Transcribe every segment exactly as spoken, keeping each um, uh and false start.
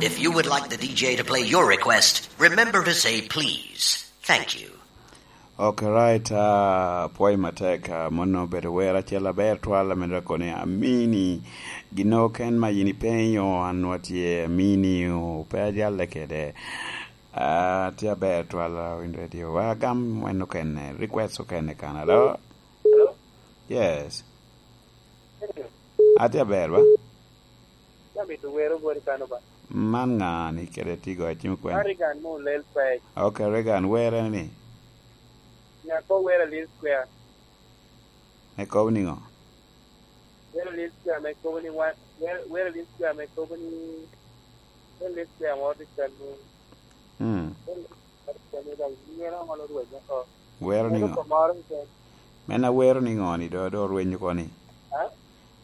If you would like the D J to play your request, remember to say please. Thank you. Okay, right. Uh, pwoyo matek, uh, mono obedo wer acel aber twal, ame dok koni Amini. Gino ken ma yin ipenyo, an watye Amini, o, pe ajalle kede. Uh, tye aber twal, uh, Win Radio. Wa gam wen okene, request okene kan, alo? Hello? Yes. Hello. Atye aber, ba? Amito wero boti kano ba. Man ŋa ni kede tigo acim kwen? Man Reagan mo Lel Pec. Ok, Reagan, were ni? Nyako wero Lil Square. Ne kobo niŋo? Wero Lil Square me kobo ni wan, wero, wero Lil Square me kobo ni, wero Lil Square mo di kano. Mm. Wero Lil Square me dong, yen aŋo lo rwenyo oko? Wero niŋo? Wero oko moro keken. Men awero niŋo ni do, do rwenyo oko ni? Ha?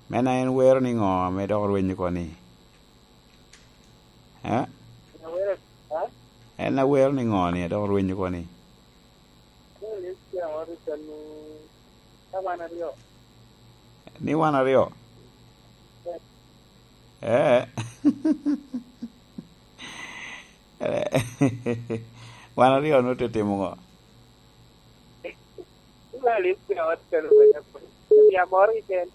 Men a en wero niŋo ame dok rwenyo oko ni? Eh? Awero, ha? En awero niŋo ni dok rwenyo oko ni? Ni Lil Square mo di kano, ka wan aryo. Ni wan aryo? Eh. Eh. Wan aryo nwoŋo te timo ŋo? Wan Lil Square mo di kano, ya moro keken.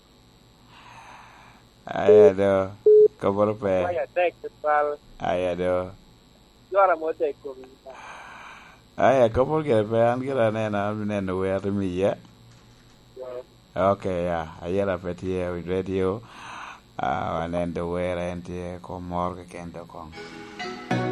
Aya do, koboro pe. Waya tek tutwal. Aya do. Jora mo tek kom. Aya, koboro gire pe, an gira aneno, an neno wer imi iye. Ok, ya, ayera pe tye i radio. Ah, waneno do wer en tye kom moro keken do kong.